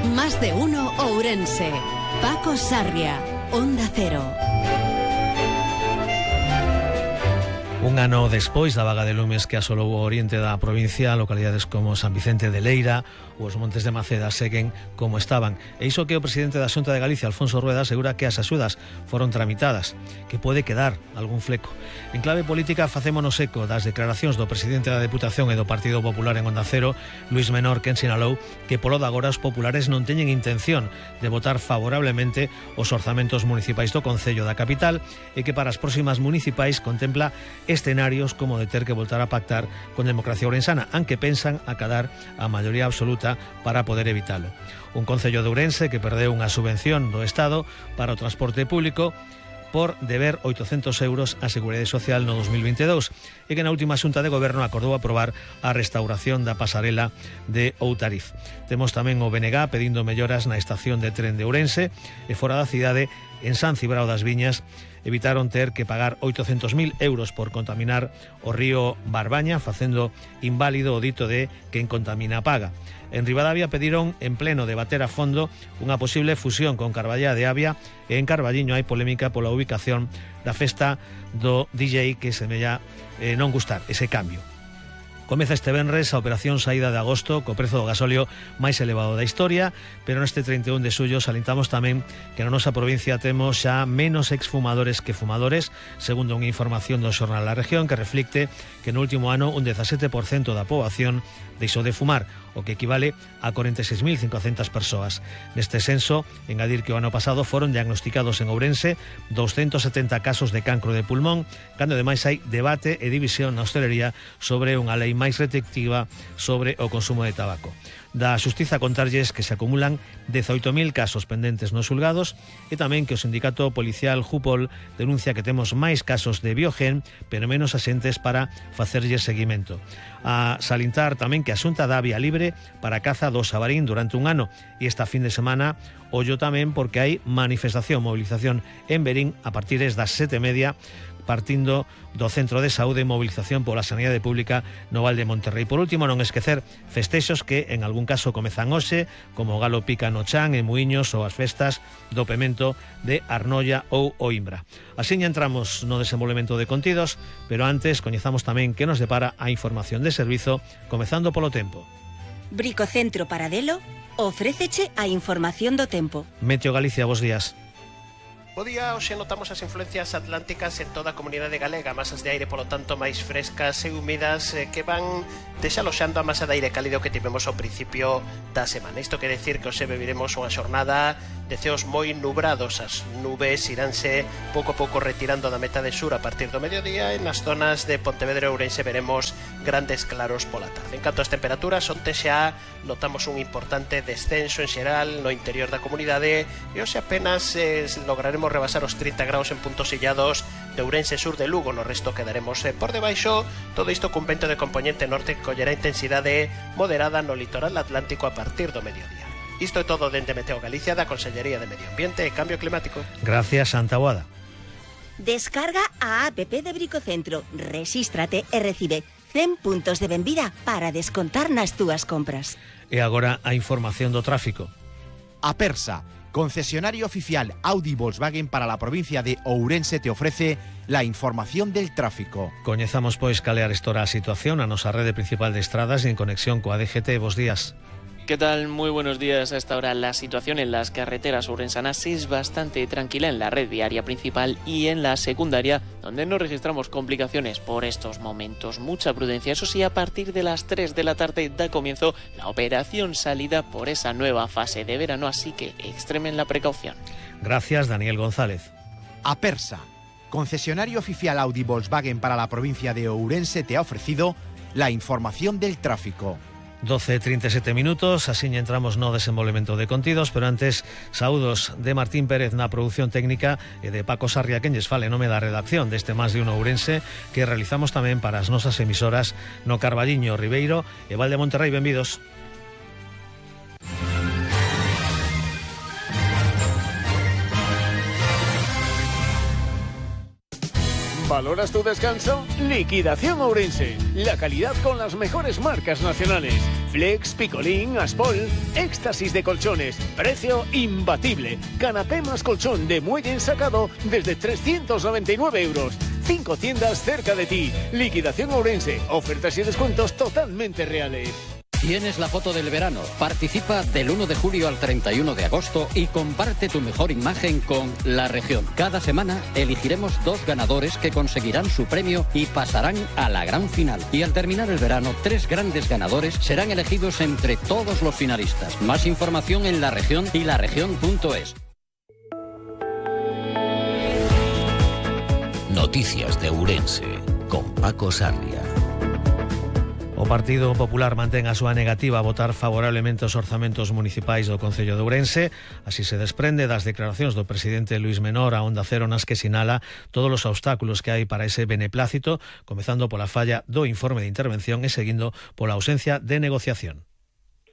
Más de uno Ourense. Paco Sarria, Onda Cero. Un ano despois da vaga de lumes que asolou o oriente da provincia, localidades como San Vicente de Leira ou os Montes de Maceda seguen como estaban. E iso que o presidente da Xunta de Galicia, Alfonso Rueda, asegura que as axudas foron tramitadas, que pode quedar algún fleco. En clave política, facémonos eco das declaracións do presidente da Deputación e do Partido Popular en Onda Cero, Luis Menor, que sinalou que polo de agora os populares non teñen intención de votar favorablemente os orzamentos municipais do Concello da capital e que para as próximas municipais contempla escenarios como de ter que voltar a pactar con Democracia Ourensana, aunque pensan acadar a maioría absoluta para poder evitalo. Un Concello de Ourense que perdeu unha subvención do Estado para o transporte público por deber 800 euros á Seguridade Social no 2022 e que na última xunta de goberno acordou aprobar a restauración da pasarela de Outariz. Temos tamén o BNG pedindo melloras na estación de tren de Ourense e fora da cidade, en San Cibrao das Viñas, evitaron ter que pagar 800.000 euros por contaminar o río Barbaña, facendo inválido o dito de quen contamina paga. En Ribadavia pediron en pleno debater a fondo unha posible fusión con Carballá de Avia e en Carballiño hai polémica pola ubicación da festa do DJ que semella non gustar ese cambio. Comeza este venres a operación saída de agosto co prezo do gasóleo máis elevado da historia, pero neste 31 de xullo salintamos tamén que na nosa provincia temos xa menos exfumadores que fumadores, segundo unha información do xornal La Región que reflicte que no último ano un 17% da poboación deixou de fumar, o que equivale a 46.500 persoas. Neste censo, engadir que o ano pasado foron diagnosticados en Ourense 270 casos de cancro de pulmón, cando ademais hai debate e división na hostelería sobre unha lei máis restrictiva sobre o consumo de tabaco. Da Xustiza contarlles que se acumulan 18.000 casos pendentes nos xulgados e tamén que o sindicato policial Jupol denuncia que temos máis casos de biogen, pero menos asentes para facerlles seguimento. A salintar tamén que a Xunta dá vía libre para a caza do xabarín durante un ano e esta fin de semana ollo tamén porque hai manifestación, movilización en Verín a partir das 7:30 partindo do Centro de Saúde e Movilización pola Sanidade Pública no Val de Monterrey. Por último, non esquecer festexos que en algún caso comezan hoxe, como o Galo Pica no Chan, en Muiños ou as festas do Pemento de Arnoia ou Oimbra. Así entramos no desenvolvemento de contidos, pero antes coñezamos tamén que nos depara a información de servizo, comezando polo tempo. Bricocentro Paradelo ofréceche a información do tempo. Meteo Galicia, bos días. Bo día, hoxe notamos as influencias atlánticas en toda a comunidade galega, masas de aire, polo tanto, máis frescas e húmidas que van desaloxando a masa de aire cálido que tivemos ao principio da semana. Isto quere decir que hoxe viviremos unha xornada de ceos moi nubrados. As nubes iránse pouco a pouco retirando da metade sur a partir do mediodía e nas zonas de Pontevedra e Ourense veremos grandes claros pola tarde. En canto ás temperaturas, onte xa notamos un importante descenso en xeral no interior da comunidade e hoxe apenas lograremos rebasar os 30 graus en puntos illados de Ourense, sur de Lugo. No resto quedaremos por debaixo, todo isto cun vento de componente norte que collerá intensidade moderada no litoral atlántico a partir do mediodía. Isto é todo dende Meteo Galicia, da Consellería de Medio Ambiente e Cambio Climático. Gracias, Santa Boada. Descarga a app de Bricocentro, rexístrate e recibe 100 puntos de benvida para descontar nas túas compras. E agora a información do tráfico. Apersa, concesionario oficial Audi Volkswagen para la provincia de Ourense, te ofrece la información del tráfico. Coñezamos pois cal é a situación na nosa rede principal de estradas e en conexión coa DGT. Bos días. ¿Qué tal? Muy buenos días. A esta hora la situación en las carreteras ourensanas es bastante tranquila en la red viaria principal y en la secundaria, donde no registramos complicaciones por estos momentos. Mucha prudencia. Eso sí, a partir de las 3 de la tarde da comienzo la operación salida por esa nueva fase de verano, así que extremen la precaución. Gracias, Daniel González. Apersa, concesionario oficial Audi Volkswagen para la provincia de Ourense, te ha ofrecido la información del tráfico. 12:37 minutos, así entramos no desenvolvemento de contidos, pero antes, saúdos de Martín Pérez na produción técnica e de Paco Sarria, quen lles fale nome da redacción deste Más de Uno Ourense, que realizamos tamén para as nosas emisoras no Carballiño, Ribeiro e Val de Monterrey. Benvidos. ¿Valoras tu descanso? Liquidación Ourense. La calidad con las mejores marcas nacionales. Flex, Picolín, Aspol, éxtasis de colchones. Precio imbatible. Canapé más colchón de muelle ensacado desde 399 euros. 5 tiendas cerca de ti. Liquidación Ourense. Ofertas y descuentos totalmente reales. Tienes la foto del verano. Participa del 1 de julio al 31 de agosto y comparte tu mejor imagen con La Región. Cada semana elegiremos 2 ganadores que conseguirán su premio y pasarán a la gran final. Y al terminar el verano, 3 grandes ganadores serán elegidos entre todos los finalistas. Más información en La Región y laregion.es. Noticias de Ourense con Paco Sarria. O Partido Popular mantén a súa negativa a votar favorablemente os orzamentos municipais do Concello de Ourense. Así se desprende das declaracións do presidente Luís Menor a Onda Cero, nas que sinala todos os obstáculos que hai para ese beneplácito, comezando pola falla do informe de intervención e seguindo pola ausencia de negociación.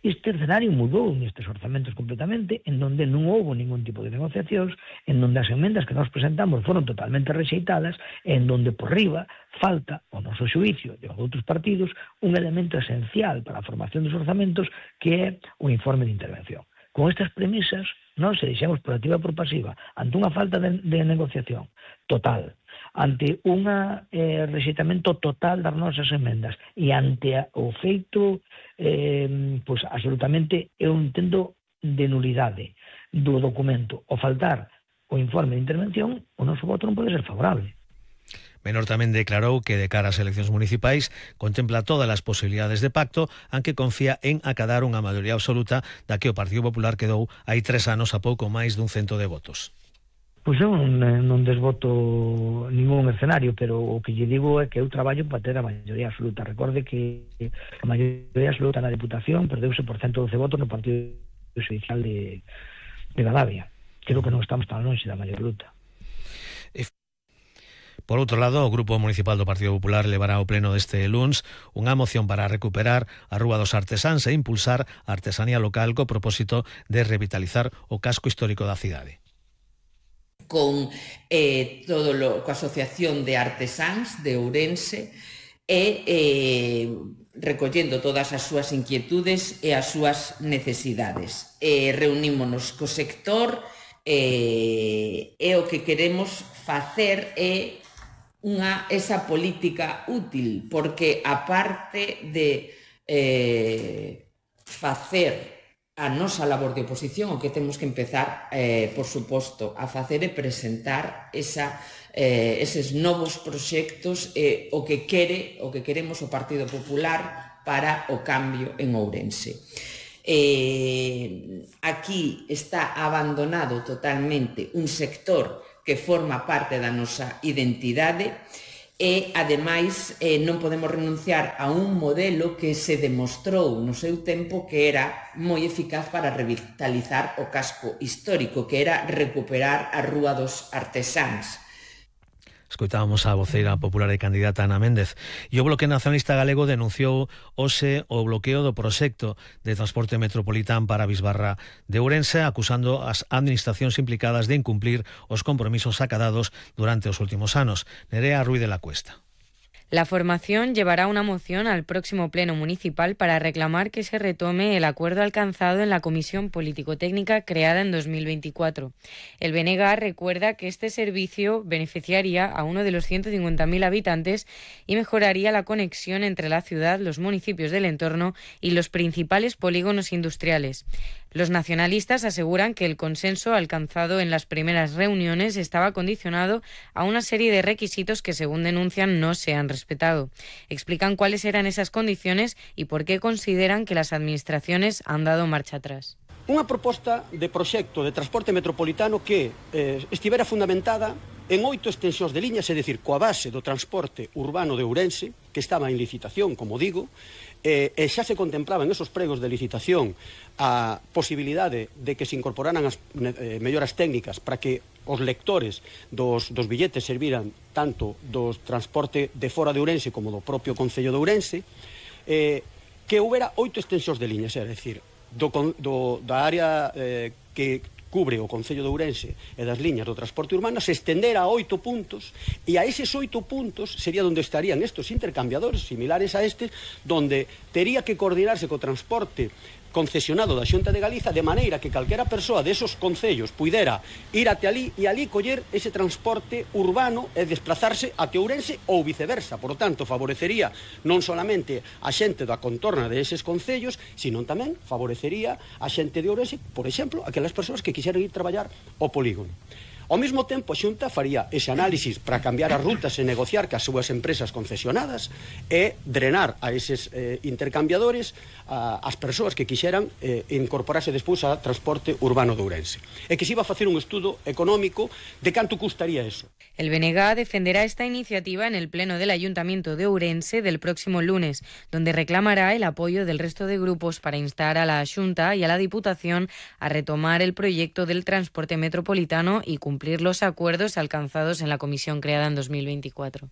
Este escenario mudou nestes orzamentos completamente, en donde non houbo ningún tipo de negociacións, en donde as emendas que nos presentamos foron totalmente rexeitadas, en donde por riba falta, ao noso xuicio de outros partidos, un elemento esencial para a formación dos orzamentos, que é o informe de intervención. Con estas premisas, non se deixamos por activa por pasiva, ante unha falta de negociación total, ante un rexeitamento total das nosas emendas e ante o feito pois absolutamente un intento de nulidade do documento, o faltar o informe de intervención, o noso voto non pode ser favorable. Menor tamén declarou que de cara ás eleccións municipais contempla todas as posibilidades de pacto, aunque confía en acadar unha maioría absoluta da que o Partido Popular quedou hai 3 anos a pouco máis dun 100 de votos. Pois eu non desvoto ningún escenario, pero o que lle digo é que eu traballo para ter a maioría absoluta. Recorde que a maioría absoluta na Deputación perdeuse por 112 votos no Partido Judicial de Gavia. Creo que non estamos tan longe da maioría absoluta. Por outro lado, o Grupo Municipal do Partido Popular levará ao pleno deste luns unha moción para recuperar a Rúa dos Artesáns e impulsar a artesanía local co propósito de revitalizar o casco histórico da cidade. Con coa Asociación de Artesáns de Ourense e recollendo todas as súas inquietudes e as súas necesidades. Reunímonos co sector e o que queremos facer é esa política útil, porque aparte de facer a nosa labor de oposición, o que temos que empezar, por suposto, a facer e presentar eses novos proxectos, o que queremos o Partido Popular para o cambio en Ourense. Aquí está abandonado totalmente un sector que forma parte da nosa identidade e, ademais, non podemos renunciar a un modelo que se demostrou no seu tempo que era moi eficaz para revitalizar o casco histórico, que era recuperar a Rúa dos Artesáns. Escoitábamos a voceira popular e candidata Ana Méndez. E o Bloque Nacionalista Galego denunciou hoxe o bloqueo do proxecto de transporte metropolitán para a Bisbarra de Ourense, acusando as administracións implicadas de incumplir os compromisos acadados durante os últimos anos. Nerea Ruiz de la Cuesta. La formación llevará una moción al próximo pleno municipal para reclamar que se retome el acuerdo alcanzado en la Comisión Político-Técnica creada en 2024. El BNG recuerda que este servicio beneficiaría a uno de los 150.000 habitantes y mejoraría la conexión entre la ciudad, los municipios del entorno y los principales polígonos industriales. Los nacionalistas aseguran que el consenso alcanzado en las primeras reuniones estaba condicionado a una serie de requisitos que, según denuncian, no se han respetado. Explican cuáles eran esas condiciones y por qué consideran que las administraciones han dado marcha atrás. Unha proposta de proxecto de transporte metropolitano que estivera fundamentada en 8 extensións de liñas, é dicir, coa base do transporte urbano de Ourense, que estaba en licitación, como digo, e xa se contemplaba en esos pregos de licitación a posibilidade de que se incorporaran as melloras técnicas para que os lectores dos billetes serviran tanto do transporte de fora de Ourense como do propio Concello de Ourense, que houbera 8 extensións de liñas, é dicir, da área que cubre o Concello de Ourense e das liñas do transporte urbano se estendera a 8 puntos, e a eses 8 puntos sería onde estarían estos intercambiadores similares a este, donde tería que coordinarse co transporte concesionado da Xunta de Galiza, de maneira que calquera persoa desos concellos puidera ir até ali e ali coller ese transporte urbano e desplazarse até Ourense ou viceversa. Por tanto, favorecería non solamente a xente da contorna de eses concellos, sino tamén favorecería a xente de Ourense, por exemplo, aquelas persoas que quixeran ir traballar ao polígono. Ao mesmo tempo, a Xunta faría ese análisis para cambiar as rutas e negociar cas súas empresas concesionadas e drenar a eses intercambiadores as persoas que quixeran incorporarse despois ao transporte urbano de Ourense. E que se iba a facer un estudo económico de canto custaría eso. El BNG defenderá esta iniciativa en el Pleno del Ayuntamiento de Ourense del próximo lunes, donde reclamará el apoyo del resto de grupos para instar a la Xunta y a la Diputación a retomar el proyecto del transporte metropolitano y cumplir los acuerdos alcanzados en la comisión creada en 2024.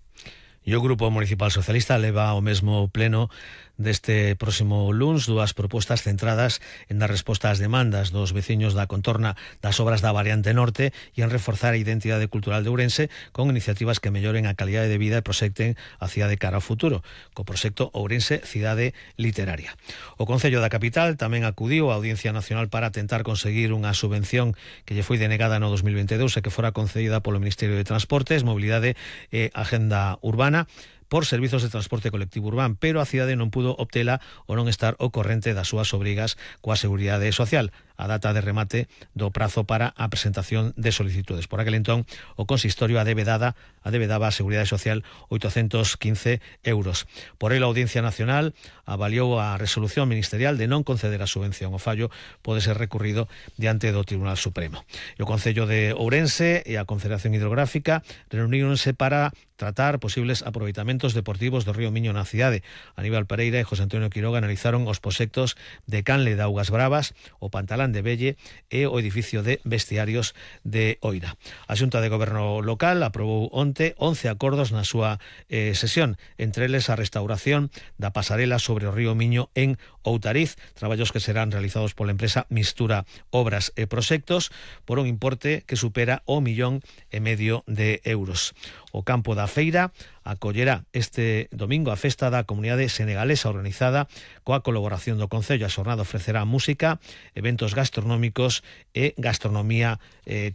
E o Grupo Municipal Socialista leva ao mesmo pleno deste próximo luns dúas propostas centradas en dar resposta ás demandas dos veciños da contorna das obras da variante norte e en reforzar a identidade cultural de Ourense con iniciativas que melloren a calidade de vida e proxecten a cidade cara ao futuro, co proxecto Ourense Cidade Literaria. O Concello da Capital tamén acudiu á Audiencia Nacional para tentar conseguir unha subvención que lle foi denegada no 2022 e que fora concedida polo Ministerio de Transportes, Mobilidade e Agenda Urbana por servizos de transporte colectivo urbano, pero a cidade non pudo obtela ou non estar ao corrente das súas obrigas coa Seguridade Social. A data de remate do prazo para a presentación de solicitudes. Por aquel entón, o consistorio adebedaba a Seguridade Social 815 euros. Por ello, a Audiencia Nacional avaliou a resolución ministerial de non conceder a subvención. O fallo pode ser recurrido diante do Tribunal Supremo. E o Concello de Ourense e a Confederación Hidrográfica reuníronse para tratar posibles aproveitamentos deportivos do río Miño na cidade. Aníbal Pereira e José Antonio Quiroga analizaron os proxectos de Canle de Augas Bravas, o Pantalán de Velle e o edificio de vestiarios de Oira. A Xunta de Goberno Local aprobou onte 11 acordos na súa sesión, entre eles a restauración da pasarela sobre o río Miño en Outariz, traballos que serán realizados pola empresa Mistura Obras e Proxectos por un importe que supera o 1,5 millón de euros. O campo da Feira acollerá este domingo a festa da comunidade senegalesa organizada coa colaboración do Concello. A xornada ofrecerá música, eventos gastronómicos e gastronomía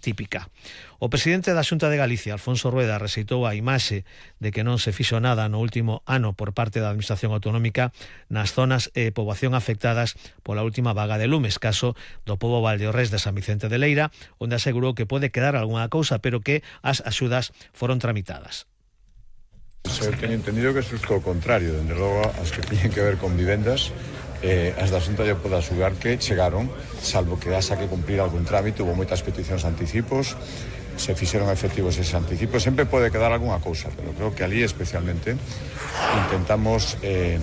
típica. O presidente da Xunta de Galicia, Alfonso Rueda, rexeitou a imaxe de que non se fixo nada no último ano por parte da Administración Autonómica nas zonas e poboación afectadas pola última vaga de lumes, caso do pobo Valdeorrés de San Vicente de Leira, onde asegurou que pode quedar algunha cousa, pero que as axudas foron tramitadas. Eu teño entendido que isto é o contrario, dende logo as que teñen que ver con vivendas, as da Xunta lle pode asugar que chegaron, salvo que haxa que cumplir algún trámite, hubo moitas peticións anticipos, se fixeron efectivos eses anticipos, sempre pode quedar algunha cousa, pero creo que ali especialmente intentamos